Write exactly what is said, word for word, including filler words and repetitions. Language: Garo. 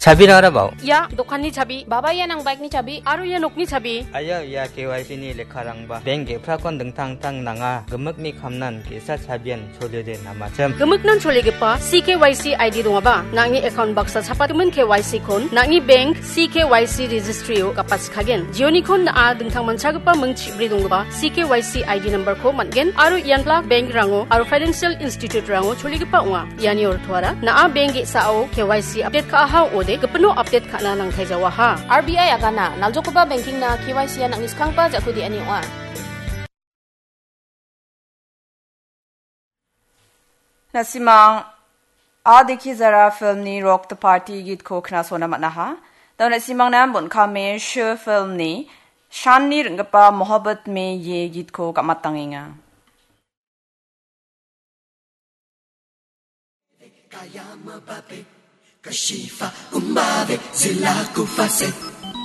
Chabirang arabao. Ia dokanni chabi, baba ia nang bike-ni chabi, aro ia nokni chabi. Aia, ia K Y C-ni lekkarangba. Bank ge·prakon dingtang-dingtang nanga, gimikni kamnan ge·sa chabian cholede namachim. Gimiknan cholegipa C K Y C I D dongaba, nang·ni account baksa chapatgimin K Y C-kon, nang·ni bank C K Y C registry-o gapatskagen. Jionikon na·a dingtang manchagipa ming chibri donggipa C K Y C I D number-ko man·gen, aro ian Black Bank-rango aro financial institute-rango cholegipa ong·a. Iani ortoara, na·a bank ge·sao K Y C update ka·aha ong·ode, gipino update ka·na nangtai jawaha. R B I agana, naljokgipa banking-na K Y C-a nang·ni skanggipa ja·ku de·ani ong·a. Na·simang A Dikhi Zara film-ni Rock the Party gitko knasona man·aha. Dao na·simangna bon·kame Shu film-ni Shanni ring·gipa Mohabbat Mein Ye gitko gam·atangenga.